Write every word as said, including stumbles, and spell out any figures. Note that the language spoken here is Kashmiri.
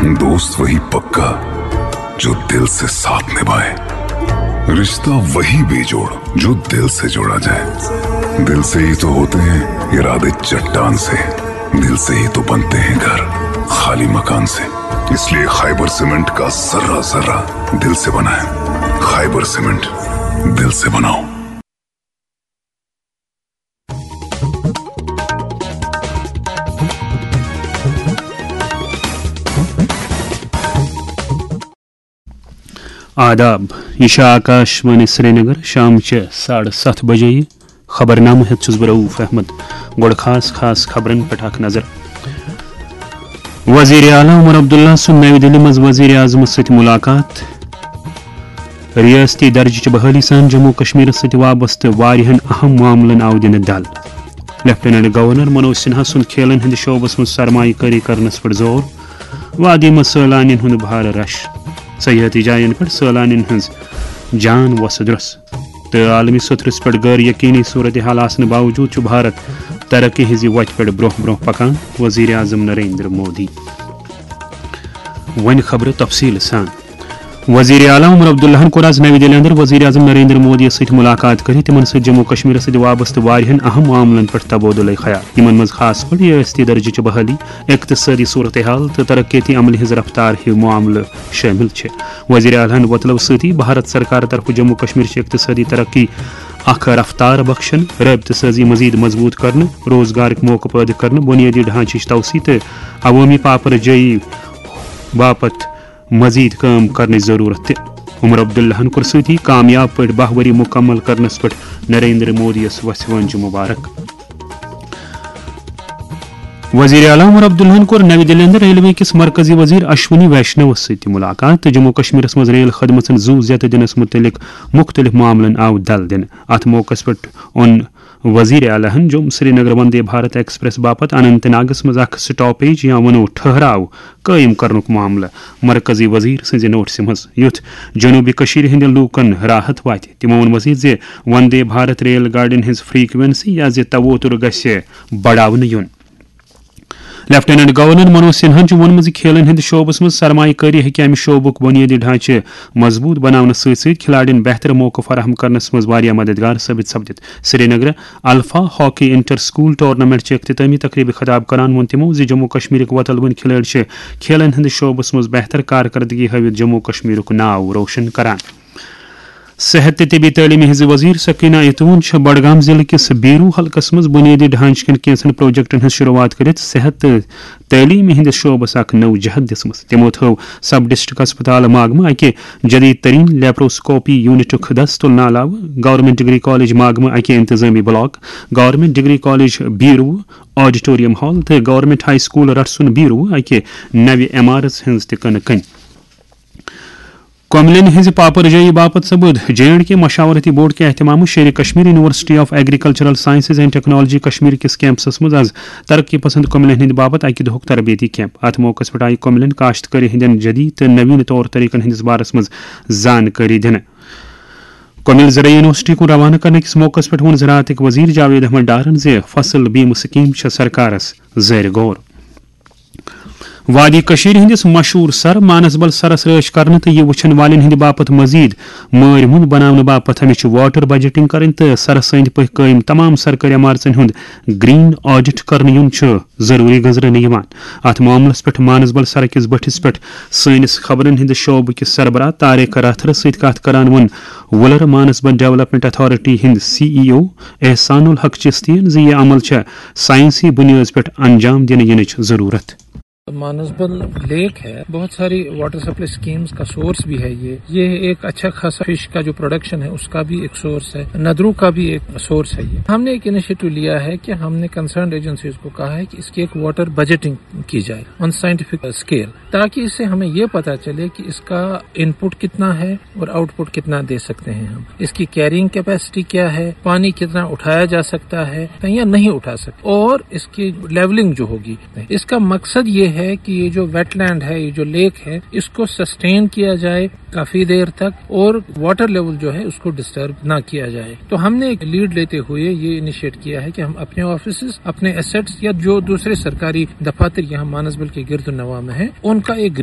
दोस्त वही पक्का जो दिल से साथ निभाए, रिश्ता वही बेजोड़ जो दिल से जोड़ा जाए। दिल से ही तो होते हैं इरादे चट्टान से, दिल से ही तो बनते हैं घर खाली मकान से। इसलिए खाइबर सीमेंट का जर्रा जर्रा दिल से बनाए। खाइबर सीमेंट, दिल से बनाओ। آداب، یہِ چھِ آکاش وانی سرینگر، شام چہِ ساڑٕ ستھ بجے۔ خبرنامہٕ ہٮ۪تھ چھُس بہٕ رؤف احمد۔ گۄڈٕ خاص خاص خبرن پٮ۪ٹھ اکھ نظر۔ وزیر اعلیٰ عمر عبداللہ سُنٛد نَوِ دِلہِ منٛز وزیر اعظمس سۭتۍ مُلاقات۔ ریاستی درجہٕ چہِ بحالی سان جموں کشمیرس سۭتۍ وابستہٕ واریاہن اہم معاملن آو دِنہٕ دل۔ لیفٹیننٹ گورنر منوج سنہا سُنٛد کھیلن ہٕنٛدِ شعبس منٛز سرمایہ کٲری کرنس پٮ۪ٹھ زور۔ وادی منٛز سٲلانین ہُنٛد بھارٕ رش۔ سیاحتی جاین پٮ۪ٹھ سٲلانین ہٕنٛز جان وۄسہٕ درۄس۔ تہٕ عالمی سطرس پٮ۪ٹھ غٲر یقینی صورتحال آسنہٕ باوجود چھُ بھارت ترقی ہٕنٛزِ وتہِ پٮ۪ٹھ برونٛہہ برونٛہہ پکان، وزیر اعظم نریندر مودی۔ وۄنۍ خبرٕ تفصیٖل سان۔ وزیر اعلیٰ عمر عبداللہن کوٚر آز نَوِ دِلہِ اندر وزیر اعظم نریندر مودی یس سۭتۍ مُلاقات کٔرِتھ تِمن سۭتۍ جموں کشمیرس سۭتۍ وابستہٕ واریاہن اہم معاملن پٮ۪ٹھ تبادلہٕ خیال، یِمن منٛز خاص پٲٹھۍ ریاستی درجہٕ چہِ بحالی، اقتصٲدی صورتحال تہٕ ترقیتی عملہِ ہٕنٛز رفتار ہِوۍ معاملہٕ شٲمِل چھِ۔ وزیر اعلیٰ ہن وۄتلٲو سۭتی بھارت سرکار طرفہٕ جموں کشمیر چہِ اقتصٲدی ترقی اکھ رفتار بخشن، رٲبطہٕ سٲزی مزید مضبوط کرنہٕ، روزگارٕکۍ موقعہٕ پٲدٕ کرنہٕ، بنیٲدی ڈھانچٕچ توسیع تہٕ عوٲمی پاپرجٲیی باپتھ مزید کٲم کرنٕچ ضرورت تہِ۔ عمر عبداللہن کوٚر سۭتی کامیاب پٲٹھۍ باہ ؤری مکمل کرنس پٮ۪ٹھ نریندر مودی یس وژھِ وٲنجہِ مبارک۔ وزیر اعلیٰ عمر عبداللہن کوٚر نَوِ دِلہِ اندر ریلوے کِس مرکزی وزیر اشونی ویشنوس سۭتۍ تہِ مُلاقات تہٕ جموں کشمیرس منٛز ریل خدمژن زُو زیتہٕ دِنس مُتعلق مُختٔلِف معاملن آو دل دِنہٕ۔ اتھ موقعس پٮ۪ٹھ اوٚن وزیر اعلیٰ ہن جوم سرینگر وندے بھارت ایکسپریس باپتھ اننت ناگس منٛز اکھ سٹاپیج یا ونو ٹھہراو قٲیِم کرنُک معاملہٕ مرکزی وزیر سٕنٛزِ نوٹسہِ منٛز، یُتھ جنوبی کٔشیٖرِ ہٕنٛدٮ۪ن لوٗکن راحت واتہِ۔ تِمو ووٚن مزید زِ وندے بھارت ریل گاڑٮ۪ن ہٕنٛز فریکوینسی یا زِ توتر گژھِ بڑاونہٕ یُن۔ لیفٹیننٹ گورنر منوج سنہاہن چھُ ووٚنمُت زِ کھیلن ہٕنٛدِس شعبس منٛز سرمایہ کٲری ہیٚکہِ امہِ شعبُک بُنیٲدی ڈھانچہٕ مضبوٗط بناونس سۭتۍ سۭتۍ کھلاڑین بہتر موقعہٕ فراہم کرنس منٛز واریاہ مددگار ثٲبت سپدِتھ۔ سرینگرٕ alpha hockey inter school tournament چہِ اختتامی تقریبہِ خطاب کران ووٚن تِمو زِ جموں کشمیرٕکۍ وۄتل وٕنۍ کھلٲڑۍ چھِ کھیلن ہٕنٛدِس شعبس منٛز بہتر کارکردگی ہٲوِتھ جموں کشمیرُک ناو روشن کران۔ صحت تہٕ طبی تعلیمہِ ہٕنٛزِ وزیر سکینہ ایتون چھےٚ بڈگام ضلعہٕ کِس بیرو حلقس منٛز بنیٲدی ڈھانچہٕ کٮ۪ن کینٛژن پروجیکٹن ہٕنٛز شروعات کٔرِتھ صحت تہٕ تعلیمہِ ہٕنٛدِس شعبس اکھ نٔو جہت دِژمٕژ۔ تِمو تھٲو سب ڈسٹرکٹ ہسپتال ماگمہٕ اکہِ جدید ترین لیپروسکوپی یونٹُک دس تُلنہٕ علاوٕ گورنمنٹ ڈگری کالج ماگمہٕ اکہِ انتظامی block, government degree college Beerwah auditorium hall تہٕ government high school Ratsun Beerwah اکہِ نوِ عمارژ ہٕنٛز تہِ کٕنہٕ کٔنۍ۔ کۄملٮ۪ن ہٕنٛزِ پاپرجٲیی باپتھ سپُد جے اینڈ کے مشاورتی بورڈ کہِ اہتمامہٕ Sher e Kashmir university of agricultural sciences and technology Kashmir کِس کیمپسس منٛز آز ترقی پسند کۄملٮ۪ن ہٕنٛدِ باپتھ اکہِ دۄہُک تربیتی کیمپ۔ اتھ موقعس پٮ۪ٹھ آیہِ کۄملٮ۪ن کاشتکٲری ہٕنٛدٮ۪ن جدید تہٕ نوین طور طریقن ہٕنٛدِس بارس منٛز زانکٲری دِنہٕ۔ کۄمِل زرعی یونیورسٹی کُن روانہٕ کرنہٕ کِس موقعس پٮ۪ٹھ ووٚن زراعتٕکۍ وزیر جاوید احمد ڈارن زِ فصل بیمہٕ سکیٖم چھےٚ سرکارس زیر غور۔ وادی کٔشیٖرِ ہٕنٛدِس مشہوٗر سر مانسبل سرس رٲچھ کرنہٕ تہٕ یہِ وٕچھن والٮ۪ن ہٕنٛدِ باپتھ مزید مٲرۍ مُنٛد بناونہٕ باپتھ ہمیشہِ واٹر بجٹنگ کرٕنۍ تہٕ سرس أنٛدۍ پٔکۍ قٲیِم تمام سرکٲرۍ عمارژن ہُنٛد گرین آڈٹ کرنہٕ یُن چھُ ضروٗری گٔنٛزرٲونہٕ یِوان۔ اتھ معاملس پٮ۪ٹھ مانسبل سڑکہِ کِس بٔٹھِس پٮ۪ٹھ سٲنِس خبرن ہٕنٛدِ شعبہٕ کِس سربراہ طارق راتھرس سۭتۍ کتھ کران ووٚن وُلر مانسبل ڈیولپمنٹ اتھارٹی ہٕنٛدۍ سی ای او احسان الحق چشتی یَن زِ یہِ عمل چھےٚ سائنسی بنیٲدس پٮ۪ٹھ انجام دِنہٕ یِنٕچ ضروٗرت۔ مانسبل لیک ہے، بہت ساری واٹر سپلائی اسکیمز کا سورس بھی ہے۔ یہ یہ ایک اچھا خاصا فش کا جو پروڈکشن ہے، اس کا بھی ایک سورس ہے، ندرو کا بھی ایک سورس ہے۔ یہ ہم نے ایک انیشیٹو لیا ہے کہ ہم نے کنسرنڈ ایجنسیز کو کہا ہے کہ اس کی ایک واٹر بجٹنگ کی جائے آن سائنٹیفک اسکیل، تاکہ اس سے ہمیں یہ پتہ چلے کہ اس کا ان پٹ کتنا ہے اور آؤٹ پٹ کتنا دے سکتے ہیں ہم، اس کی کیرنگ کیپیسٹی کیا ہے، پانی کتنا اٹھایا جا سکتا ہے یا نہیں اٹھا سکتے، اور اس کی لیولنگ جو ہوگی۔ اس کا مقصد یہ ہے کہ یہ جو ویٹ لینڈ ہے، یہ جو لیک ہے، اس کو سسٹین کیا جائے کافی دیر تک اور واٹر لیول جو ہے اس کو ڈسٹرب نہ کیا جائے۔ تو ہم نے ایک لیڈ لیتے ہوئے یہ انیشیٹ کیا ہے کہ ہم اپنے آفیسز، اپنے ایسٹس یا جو دوسرے سرکاری دفاتر یہاں مانسبل کے گرد و نواح میں ہیں، ان کا ایک گرین